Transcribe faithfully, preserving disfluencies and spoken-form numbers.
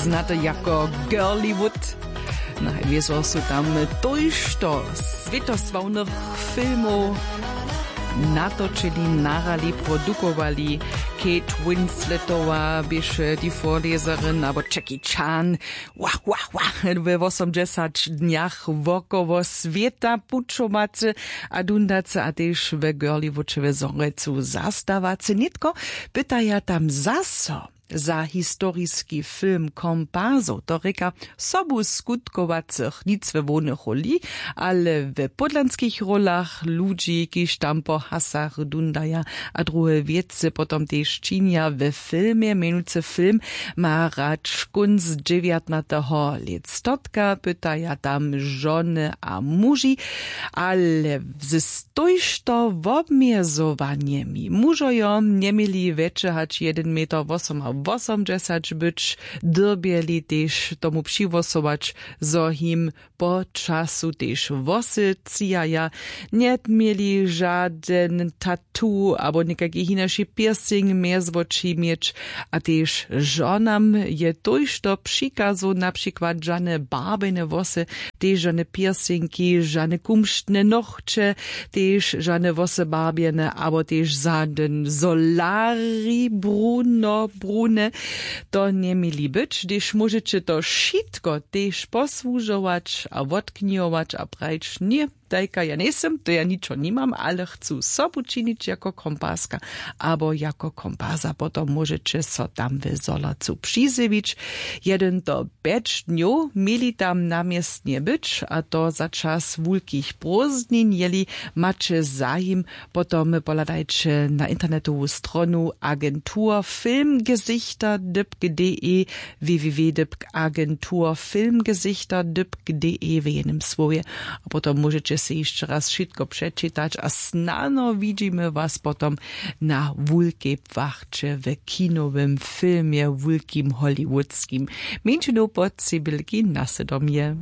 Znaty jako Girlywood. Najwězo su tam tójšto swětosławnych filmow natočili, nahrali, produkowali. Kate Winsletowa běše ti vorleserin abo Jackie Chan, wah wah wah, we wosomdźesać dnjach wokoło swěta pućowacy a dundacy a tež we Girlywoodźe we Zhorjelcu zastawacy. Nětko pytaja tam zaso za historiski film komparsow, to rěka sobuskutkowaceho nic we hłownych roli, ale we pódlanskich rolach ludźi kiž tam po hasach dundaja a druhe wěcy potom tež činja we filmje. Mjenujcy film ma radškónc dźewjatnateho lětstotka pytaja tam žony a muži, ale z tójšto wobmjezowanjemi mužojo njeměli wjetše hač jedyn meter wosomawosomdźesać być, dyrbjeli tež tomu přihłosować zo jim po času tež włosy třijaja, njeměli žadyn tatu abo někajki hinaši piercing mjez woči měć. A tež žonam je tójšto přikazow, na přikład žane barbjene włosy, tež žane piercingi, žane kumštne nochće, tež žane włosy barbjene abo tež žadyn solari bruno brune. To njeměli być, hdyž móžeće to wšitko tež posłužować a wotknihować a prajić ně, tajka ja njejsym, to ja ničo nimam, ale chcu sobu činić jako komparska abo jako komparsa, potom móžeće so tam w zhorjelcu přizjewić. Jedyn to pjeć dnjow měli tam na městnje być, a to za čas wulkich prózdnin. Jeli maće zajim, potom pohladajće na internetowu stronu agentur filmgesichter dypk de, www dypk agentur filmgesichter dypk de w jenym słowje. A potom móžeće sej hišće raz wšitko přečitać a snano widźimy was potom na wulkej płachće w kinowym filmje, wulkim hollywoodskim. Mjeńšinow po cybelki na sydomje.